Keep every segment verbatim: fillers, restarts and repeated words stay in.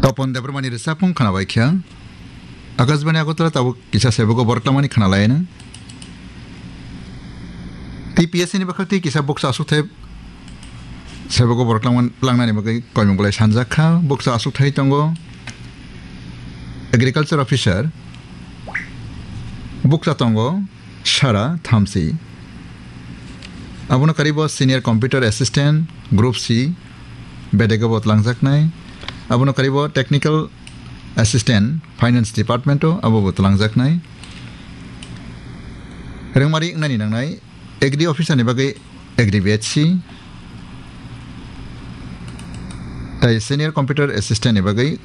Topon Debbarmani rwchapmung khwnabai kha. Akashbani Agartala tabuk kisa sebogo borok langmani khwnalaino. T P S C ni bwkhak twi kisa bukcha aswkthai sebogo borok langman-, langnani bagwi koimung bolai sanjak kha. Bukcha aswkthai tongo Agriculture Officer, bukcha tongo Sara Thamsi. Abono karibo Senior Computer Assistant, Group C, bedego bo twlangjaknai. Abono karibo Technical Assistant, Finance Department o abo bo twlangjaknai. Rengmari wngnani nangnai, Agri Officer ni bagwi Agri B H C, tai Senior Computer Assistant ni bagwi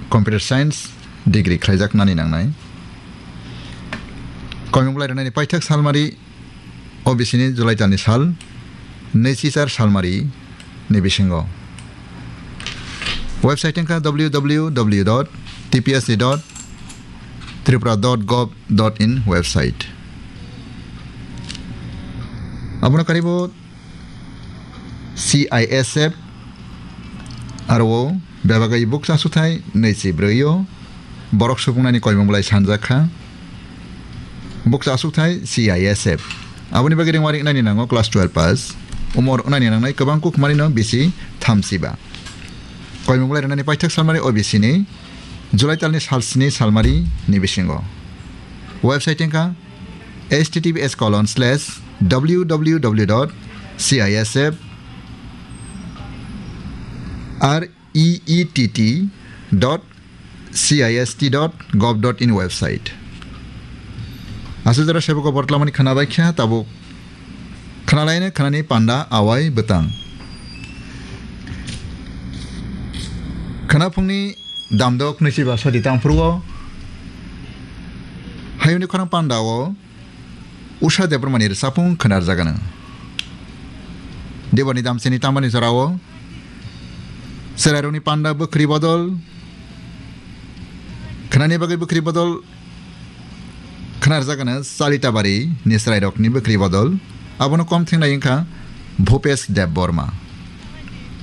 Computer Science degree khlaijaknani nangnai. Koimung bolai rwnani paithak salmari O B C ni July talni sal, nwichi char salmari ni bisingo. Website wngkha w w w dot t p s c dot tripura dot gov dot in website. Abono karibo C I S F aro o bebagwi bukcha aswkthai nwichi brwi o borok supungnani koimung bolai sanjak kha. Bukcha aswkthai C I S F. Aboni bagwi rengmari wngnani nango class twelve pass. Umor wngnani nangnai kwbang kuk manino bisi thamsiba. Koimung bolai rwnani paithak salmari O B C ni July talni sal sni salmari ni bisingo. Website wngkha h t t p s colon slash w w w dot c i s f r e e t t dot c i s t dot gov dot in website. Aswk jora sebogo borok langmani khwnabai kha, tabuk khwnalaino khwnani panda awai bwtang. Khwnaphungni damdok nwichiba sadi tangphuru o hayungni khorang panda o Usha Debbarmani rwchapmung khwnarjagano. Debani damsini tamani jorao chwrairokni panda bwkhri bodol, khwnani bagwi bwkhri bodol khwnarjagano Chalitabari ni chwrairokni bwkhri bodol. Abono kom thengnai wngkha Bhupesh Debbarma.